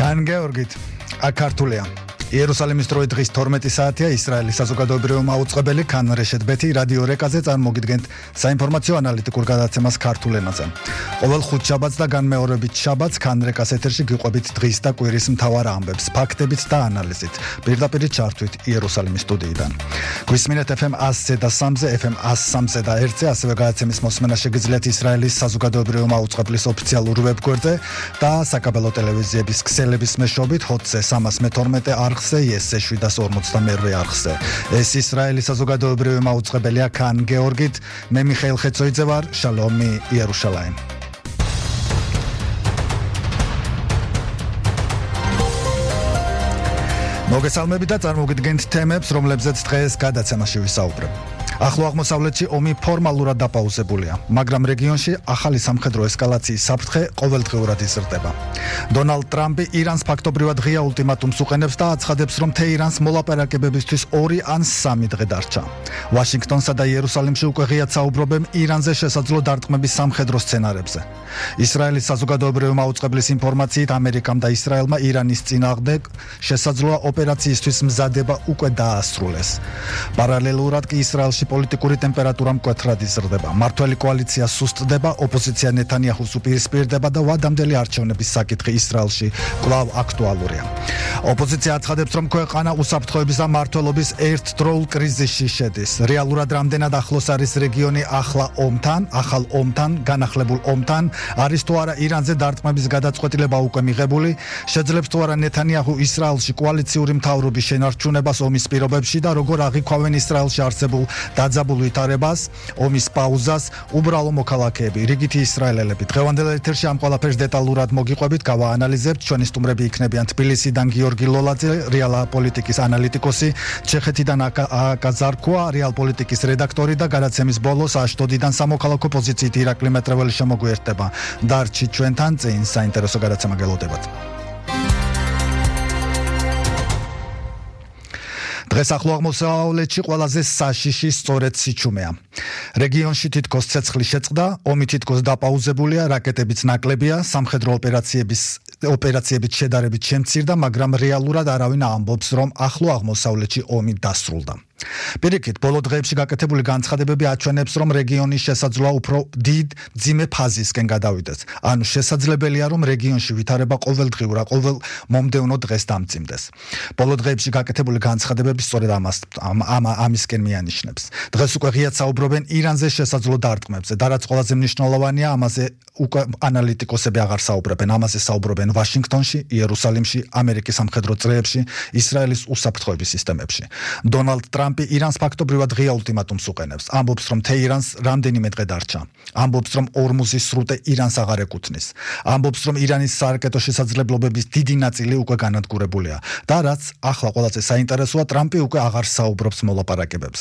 კან გეორგით, აქ ქართულია. იერუსალიმის დროით დღის 12 საათია ისრაელის საზოგადოებრივი მაუწყებელი კან რეშეთ ბეთი რადიო რეკაზე წარმოგიდგენთ საინფორმაციო ანალიტიკურ გადაცემას ქართულ ენაზე. ყოველ ხუთშაბათს და განმეორებით შაბათს კან რეკას ეთერში გიყვებით დღის და კვირის მთავარ ამბებს, ფაქტებით და ანალიზით. პირდაპირ ჩართვით იერუსალიმის სტუდიიდან. გვისმინეთ FM 100-ზე და 3-ზე, FM 103-ზე და 1-ზე, ასევე გადაცემის მოსმენა შეგიძლიათ ისრაელის საზოგადოებრივი მაუწყებლის ოფიციალურ ვებგვერდზე და საკაბელო ტელევიზიების ქსელების მეშვეობით ჰოტზე 312 არხზე, იესზე 752 არხზე. ეს ისრაელის საზოგადოებრივი მაუწყებელია კან გეორგით, მე მიხეილ ხეცოიძე ვარ, შალომი იერუშალაიმ. მოგესალმებით და წარმოგიდგენთ თემებს, რომლებზეც დღეს გადაცემაში ვისაუბრებ. ახლო აღმოსავლეთში ომი ფორმალურად დაპაუზებულია, მაგრამ რეგიონში ახალი სამხედრო ესკალაციის საფრთხე ყოველდღიურად იზრდება. დონალდ ტრამპი ირანს ფაქტობრივად ღია ულტიმატუმს უყენებს და აცხადებს, რომ თეირანს მოლაპარაკებებისთვის 2 ან 3 დღე დარჩა. ვაშინგტონსა და იერუსალიმში უკვე ღიად საუბრობენ ირანზე შესაძლო დარტყმების სამხედრო სცენარებზე. ისრაელის საზოგადოებრივი მაუწყებლის ინფორმაციით, ამერიკამ და ისრაელმა ირანის წინააღმდეგ შესაძლოა ოპერაციისთვის მზადება უკვე დაასრულეს. პარალელურად კი ისრაელში პოლიტიკური ტემპერატურა მკვეთრად იზრდება. მმართველი კოალიცია სუსტდება, ოპოზიცია ნეთანიაჰუს უპირისპირდება და ვადამდელი არჩევნების საკითხი ისრაელში კვლავ აქტუალურია. ოპოზიცია აცხადებს, რომ ქვეყანა უსაფრთხოების და მმართველობის ერთდროულ კრიზისში შედის. რეალურად რამდენად ახლოს არის რეგიონი ახალ ომთან, განახლებულ ომთან, არის თუ არა ირანზე დარტყმების გადაწყვეტილება უკვე მიღებული, შეძლებს თუ არა ნეთანიაჰუ ისრაელში კოალიციური მთავრობის შენარჩუნებას ომის პირობებში და როგორ აღიქვავენ ისრაელში არსებულ დაძაბულ ვითარებას, ომის პაუზას, უბრალო მოქალაქეები, რიგითი ისრაელელები. დღევანდელ ეთერში ამ ყველაფერს დეტალურად მოგიყვებით, გავაანალიზებთ. ჩვენი სტუმრები იქნებიან თბილისიდან გიორგი ლოლაძე, რეალა პოლიტიკის ანალიტიკოსი, ჩეხეთიდან აკა ზარქოა, რეალ პოლიტიკის რედაქტორი და გადაცემის ბოლოს აშდოდიდან სამოქალაქო პოზიციით ირაკლი მეტრეველი შემოგვიერთდება. დარჩით ჩვენთან, წინ საინტერესო გადაცემა გელოდებათ. დღეს ახლო აღმოსავლეთში ყველაზე საშიში სწორედ სიჩუმეა. რეგიონში თითქოს ცეცხლი შეწყდა, ომი თითქოს დაპაუზებულია, რაკეტებიც ნაკლებია, სამხედრო ოპერაციებით შედარებით შემცირდა, მაგრამ რეალურად არავინ ამბობს, რომ ახლო აღმოსავლეთში ომი დასრულდა. პირიქით, ბოლო დღეებში გაკეთებული განცხადებები აჩვენებს, რომ რეგიონი შესაძლოა უფრო დიდ მძიმე ფაზისკენ გადავიდეს. ანუ შესაძლებელია, რომ რეგიონში ვითარება ყოველდღიურად, ყოველ მომდევნო დღეს დამძიმდეს. ბოლო დღეებში გაკეთებული განცხადებები სწორედ ამისკენ მიანიშნებს. დღეს უკვე ღიად საუბრობენ ირანზე შესაძლო დარტყმებზე და რაც ყველაზე მნიშვნელოვანია, ამაზე უკვე ანალიტიკოსები აღარ საუბრობენ, ამაზე საუბრობენ ვაშინგტონში, იერუსალიმში, ამერიკის სამხედრო წრეებში, ისრაელის უსაფრთხოების სისტემებში. დონალდ ტრამპი ირანს ფაქტობრივად ღია ულტიმატუმს უყენებს. ამბობს, რომ თეირანს რამდენიმე დღე დარჩა. ამბობს, რომ ორმუზის სრუტე ირანს აღარ ეკუთვნის. ამბობს, რომ ირანის სარაკეტო შესაძლებლობების დიდი ნაწილი უკვე განადგურებულია. და რაც ახლა ყველაზე საინტერესოა, ტრამპი უკვე აღარ საუბრობს მოლაპარაკებებზე.